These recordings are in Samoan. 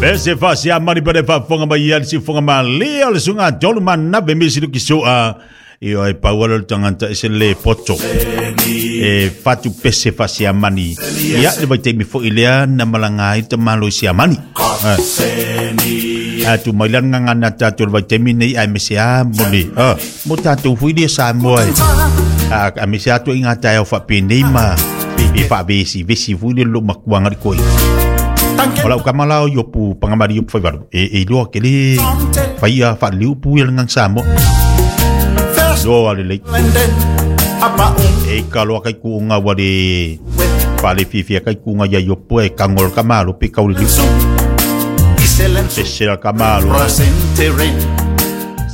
Pese faasiamani pele faafofoga mai ia le siufoga malie o le suga tolu manave misi luki sua. Io e pau ala le tagata e se le poto. E fatu pese faasiamani. Ia le vaitaimi foi lea na malaga ai le tamalo i Siamani. A tu mai la ngangana tatou le vaitaimi nei ae mese a mo le mo tatou foi lea Samoa e a a mese atu i ngā taeao faapenei ma e faavesi vesi foi le lo makuanga le koi. O lau kama la o Iopu Pagamali Iopu Faivalu e e iloa ke le faia faaliliu upu ia le gagana Samoa. Loa lelei. E ka loa kai kuʻuga ua le faalefiafia kai kuʻuga ia Iopu e kago le kamalo pe kauliliu. Pese la kamalo.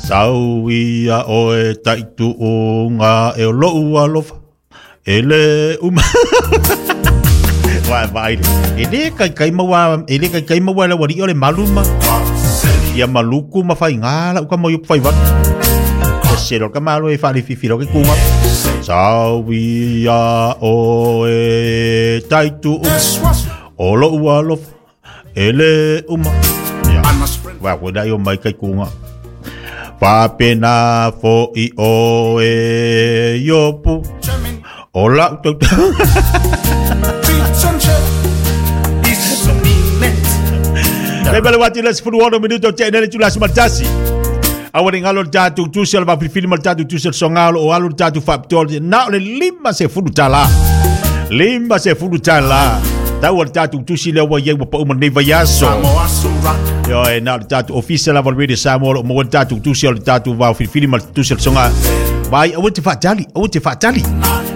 Sau ia oe taituuga e o lou alofa e le uma. Vai vai. E le kai kai maua e le kai kai maua le wali o le maluma. Ia maluku ma whai ngā la uka mau whai wat. E se ka malo e whare fifi ke kunga. Sau ia oe taitu o lou alofa e le uma. Ia. Wa koe la i o mai kai kunga. Whapena fo i o e iopu. O lau tau. Le bale wati le sefulu ono minuto te nele tula sumatasi. Awa ni ngalo tatu tusi al vafilifili ma tatu tusi al songalo o alu tatu faapitoa na o le 50 tala. 50 tala. Tau o le tatou tusi lea ua iai ua pau ma lenei vaiaso. Io e na o le tatou ofisa lava o le Radio Samoa o lo o maua le tatou tusi o le tatou vaofilifili ma le tusi o le soga. Vai, aua te faatali, aua te faatali.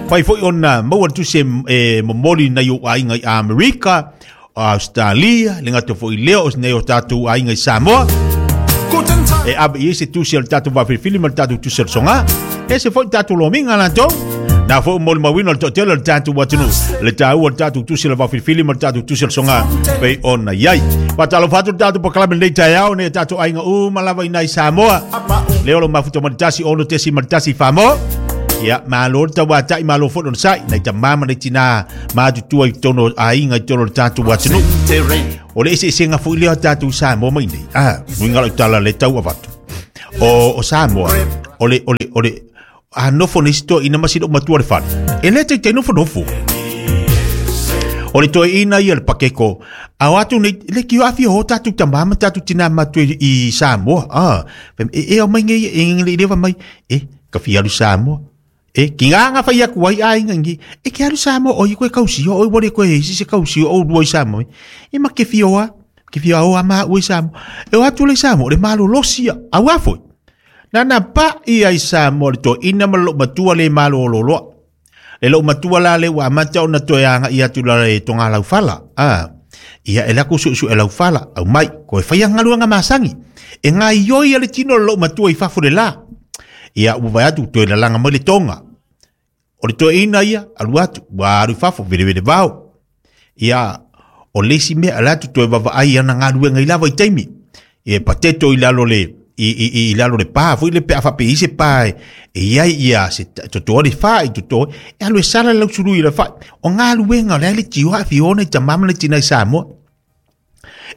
Fai foi ona maua le tusi e momoli nai ou aiga i Amerika, Australia, le gata foi lea o nei o tatou aiga i Samoa. E ave i ai se tusi o le tatou vaofilifili ma le tatou tusi o le soga. E se foi tatou lomiga latou. Na foi molimauina o le toatele o le tatou atunuu. Le taua o le tatou tusi o le vaofilifili ma le tatou tusi o le soga pei ona i ai. Faatalofa atu le tatou polokalame lenei taeao nei tatou aiga uma lava i nai Samoa. Lea o lo mafuta ma le 1 6.1 Famoa. Ia, malo le tauatai, malo foi lona sai. Nai tamā ma nai tinā matutua i totonu o aiga i totonu o le tatou atunuu. O le eseesega foi lea o tatou Samoa mai nei. Ah, uiga lau tala le tau avatu. O Samoa, o le, o le, o le, a nofo nei si toeaina ma sina matua le fale. E le taitai nofonofo. O le toeaina ia le pakeko, a o atu nei, le ki o awhia ho tātou tamā ma tātou tinā matua i Samoa. Ah, e, e o mai ngei, e ngei lewa mai, e, ka fia alu Samoa. E, ki ngā ngā whai aku ai ai ngangi, e ke alu Samoa, o i koe kausio, o i wale koe e isi se kausio, o rua i Samoa. E ma ke fioa, ke fioa o ama ua i Samoa. E o atu le Samoa, o le malolosi ia, au a foi. Na na pa ia i Samoa le toeaina ma le loomatua le malololoa. Le loomatua la le ua amata ona toe agai atu la e toga laufala. A, ia e lako suesue laufala, au mai, koe whaia galuega masani. E gaioi a le tino o le loomatua i fafo le la. Ia ua vai atu toe lalaga mai le toga. O le toeaina ia, alu atu, ua alu i fafo, velevele vao. Ia, o le isi mea, ala atu toe vaavaai i ana galuega i la vaitaimi. E pateto i lalo le, i lalo le pa, foi le pe a faapea i se pa e, e i ai ia se totoa le fa i totoa, e alu e sala le lausului i le fai. O galuega o le a le tio a fiona i tamama le tina i Samoa.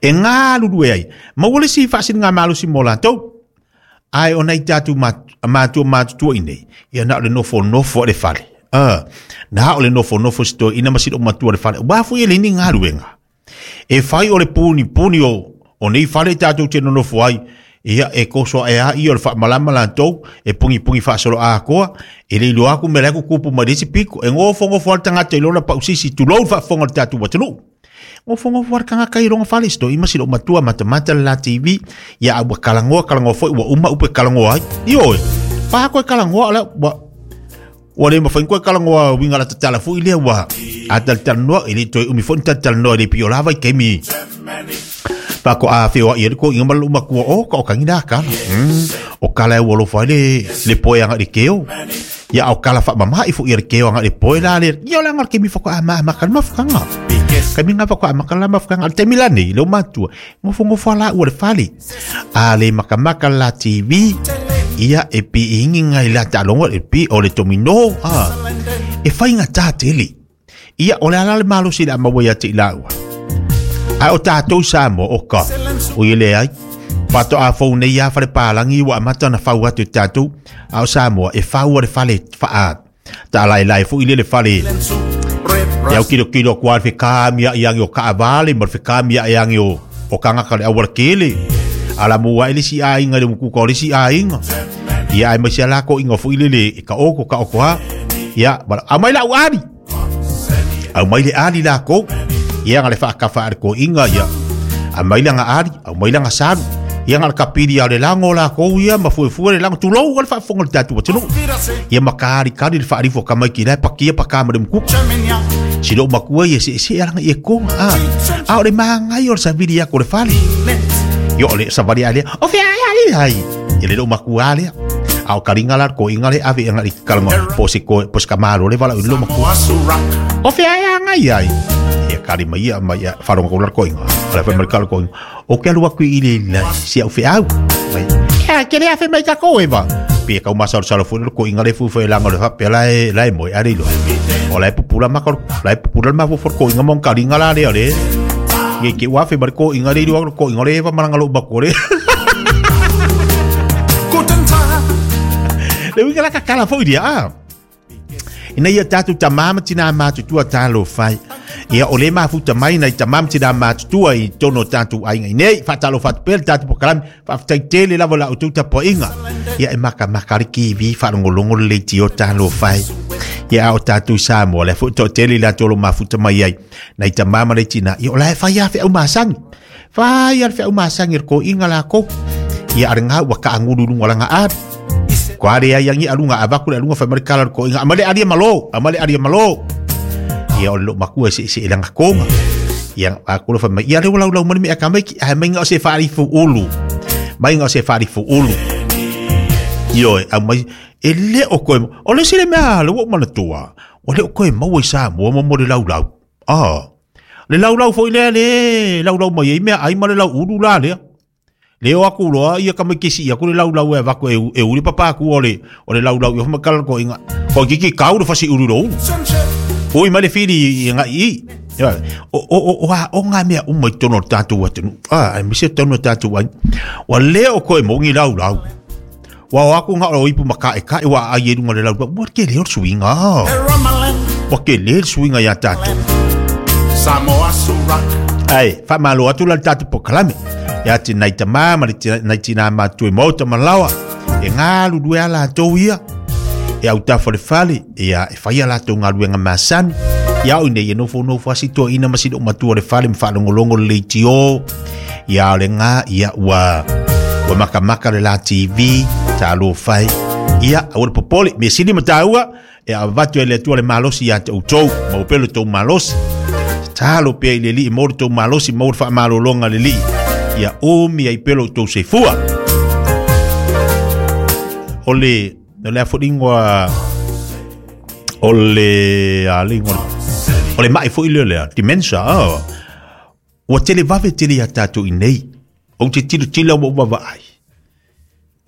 E galulue ai. Maua le isi faasiliga malosi mo latou. Ae o nai tatou matua matutua i nei, ia na o le nofonofo a le fale. Na o le nofonofo si toeaina ma si matua le fale. Ua foi e le ni galuega. E fai o le puni puni o nei fale tatou te nonofo ai, ia e koso ae a ia o le faamalama latou, e pugipugi faasoloakoa, e le iloa aku mea la e kukupu mai le isi piko. E gofogofoa le tagata i lona pausisi, tulou le faafofoga o le tatou atunuu. Gofogofoa le tagata i lona fale, si toeaina ma si matua matamata le la TV, ia a ua kalagoa kalagoa foi ua uma upu e kalagoa ai. Ioe, pa koe kalagoa la ua ua le mafai koe kalagoa winga la tatala foi lea ua a talatalanoa e le toe umi foi ni talatalanoa e le pio lava i taimi pa ko a whioa ia le ko inga ma le matua o ka o kangi nā kala. O kala e ua alofa ai le le poe anga le keo. Ia o kala whaamama i fo ia le keo anga le poe la le ia o le anga le kemi whaka a ma ma ka mafukanga. Kemi ngā whaka a ma ka la mafukanga. Le taimi la nei, le o matua, ngofo ngofo la ua le fale. A le makamaka la TV, ia e pi ingi ngai la talongo e pi o le tomino. E whai ngā tā tele. Ia o le ala le malosi le a maua ia te i laua. Ai o tātou Samoa o ka. O ia leai. Faatoa fou nei lava fale palagi ua amata ona fau atu e tatou. A o Samoa, e fau a le fale faa taalaelae foi lea le fale e autilo atu lava le fekamia'i age o taavale ma le fekamia'i age o tagata o le aualatele. Ala mua ae le isi aiga i le umukuka o le isi aiga. Ia aemaise a lako'iga foi lele e taoto taoto lava. Ia, aumai la'u ali. Aumai le ali lakou. Ia na le faatafa a le toeaina ia. Aumai lana ali, aumai lana salu. Ia na o le tapili lava o le lago lakou ia ma fuefue le lago. Tulou lava le faafofoga o le tatou atunuu. Ia ma kalikali le faalifo a tamaiti la e patia paka ma le umukuka. Si lou matua ia seesee alaga i e toga. A, a o le magaia o le savili atu o le fale. Ia o le savali a lea, o fea ai ali ai. Ia le lou matua lea. A o kaliga la le toeaina le ave agai i kalaga po o se po o se tamālo le valaau i le lou matua. O fea ai agai ai. Ia kali mai ia mai ia faalogo atu la le toeaina. O le fai mai le kala toeaina. O ke alu atu i le si au feau. Mai. Ia ke le afe mai takou e va. Pe kau masalosalo foi le toeaina le fuifui langa o le faapea la e la e moe a le iloa. O la e pupula maka la e pupula le mafaufau o le toeaina ma ona kaliga la lea o le Ia ke ua afe mai le toeaina le iloa le toeaina le eva malaga lou matua le. Le uiga la kakala foi ia. Ah. Ina ia tatou tamā ma tinā matutua talofa ai. Ia o le mafuta mai nai tamā ma tinā matutua i totonu o tatou aiga i nei. Faatalofa atu pea le tatou polokalame. Faafetai tele lava i la outou tapuaiga. Ia e makamaka le TV faalogologo le leitio talofa ai. Ia a o tatou i Samoa, lea foi toatele i latou o lo o mafuta mai ai. Nai tamā ma nai tinā, ia o la e fai lava feau masani. Fai lava le feau masani a le toeaina lakou. Ia a lena ua taagulu i luga o lana ali. Ko ale ai agi aluga avatu le aluga fai mai le tala o le toeaina, aumai le ali e malo, aumai le ali e malo. Ia o le loomatua e seesee lana toga. Ia aku le fai mai, ia lea ua laulau mai le mea tamaiti, ae mai na o se faalifu ulu. Mai na o se faalifu ulu. Ioe, aumai, e le o toe, o le isi le mea le ua ou manatua, ua le o toe maua i Samoa mo mo le laulau. Ah, le laulau foi lea le laulau mai ai meaai ma le lau ulu la lea. Le o atu loa ia tamaiti e sii atu le laulau e avatu e, e uli papa atu o le, o le laulau ia makala ko inga. Ko kiki kau le fasi ulu lo ulu. Ui mai le fili i ngai i. O, o, o, o, a, o ngā mea uma i totonu o le tatou atunuu. Ah, aemaise totonu o le tatou aiga. Ua le o koe mongi laulau. Ua o atu ngā o ipu ma kaʻekaʻe ua aai e lunga le laulau. Ua tele o le suiga. Ua tele le suiga iā tatou. Ai, faamalo atu la le tatou polokalame. Ia te nai tamā ma le nai tinā matutua i maota ma laoa. E galulue a latou ia. E autafa o le fale, ia e fai a latou galuega masani. Ia o i nei e nofonofo lava si toeaina ma si loomatua o le fale ma faalogologo le leitio. Ia o le gā, ia ua, ua makamaka le la TV, talofa e. Ia, aua le popole, mea sili ma taua, e avatu e le Atua le malosi ia te outou, maua pea lo tou malosi. Tatalo pea i le Alii, maua lo tou malosi, maua le faamalologa a le Alii. Ia umi ai pea lo outou soifua. O le, o le a foi le ingoa, o le, a le ingoa, o le mai foi lea lea, dementia, oh. Ua televave tele iā tātou i nei. Ou te tilotilo ua ou vaavaai,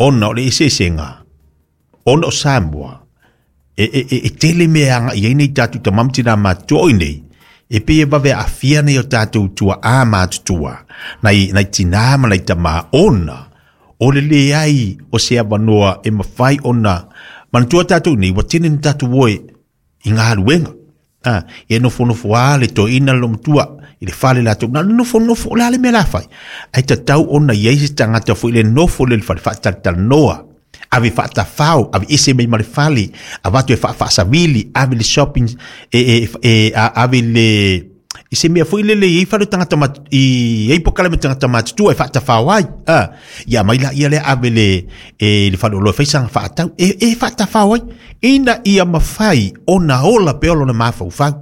ona o le eseesega, ona o Samoa, e, e, e, e tele mea e agai ai nei tātou tama ma tinā matutua o i nei, e pei e vave aafia nei o tātou tuaā matutua, nai, nai tinā ma nai tamā, ona o le leai o se avanoa e mafai ona manatua tātou nei, ua tele ni tātou oe i galuega. A, ia nofonofo lava le toeaina le loomatua i le fale latou, na o le nofonofo, o le a le mea o le a fai? Ae tatau ona i ai se tagata foi le nofo lea i le fale faatalatalanoa, ave faatafao, aveese mai ma le fale, avatu e faafaasavili, ave i le shopping, e, e, e, a, ave i le i se mea foi lele e i ai fale o tagata mat, i ai polokalame o tagata matutua e faatafao ai. A, ia aumai laia lea ave le, e le faleoloa e fai sana faatau, e, e faatafao ai, ina ia mafai ona ola pea lona mafaufau.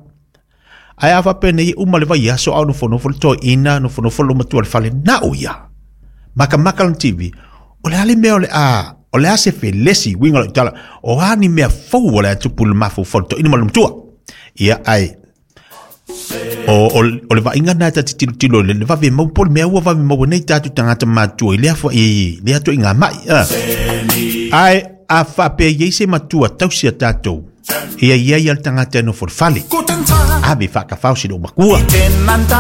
Ae a faapea nei, uma le vaiaso a o nofonofo le toeaina, nofonofo le loomatua i le fale, na o ia. Makamaka lona TV, o le a le mea o le a, o le a se felesi, uiga o lau tala, o a ni mea fou o le a tupu i le mafaufau o le toeaina ma le loomatua. Ia, ae, O, o, o le vaaiga lena ta te tilotilo i le vave mau po o le mea ua vave maua nei tatou tagata matutua i lea foi i lea ituaiga mai. Ah. Ae a faapea i ai se matua tausi a tatou, ia i ai a le tagata e nofo i le fale. Ave faatafao si loomatua.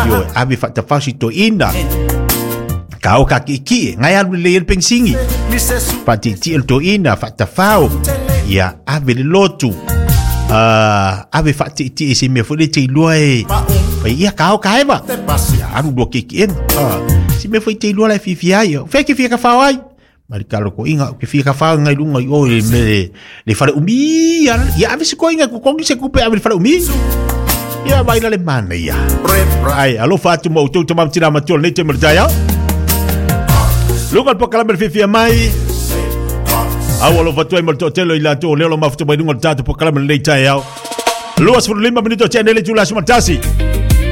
Ioe, ave faatafao si toeaina. Ka o ka ki'iki'e, ngai alu lelei ai le penisini. Fa'ati'iti'e le toe'ina, fa'atafao, ia ave le lotu. Ave fa'ati'iti'e i se mea foi lea e te iloa e fai ia ka ao ka eva. Ia alu lua ki'iki'ega. Se mea foi e te iloa la e fiafia ai. O fea e te fia tafao ai? Ma le talotoiga, ou te fia tafao ngai luga i o i le mea le fale umi ia. Ia ave se toeaina e totogi se tupe ave i le fale umi. Ia vai la le manaia. Ai, alofa atu ma outou tama ma tina matua lenei taimi o le taeao. Luga le polokalame le fiafia mai. Au alofa atu ai ma le toatele o i latou o lea o lo mafuta mai luga o le tatou polokalame lenei taeao. 25 minuto tea nei le itula 11.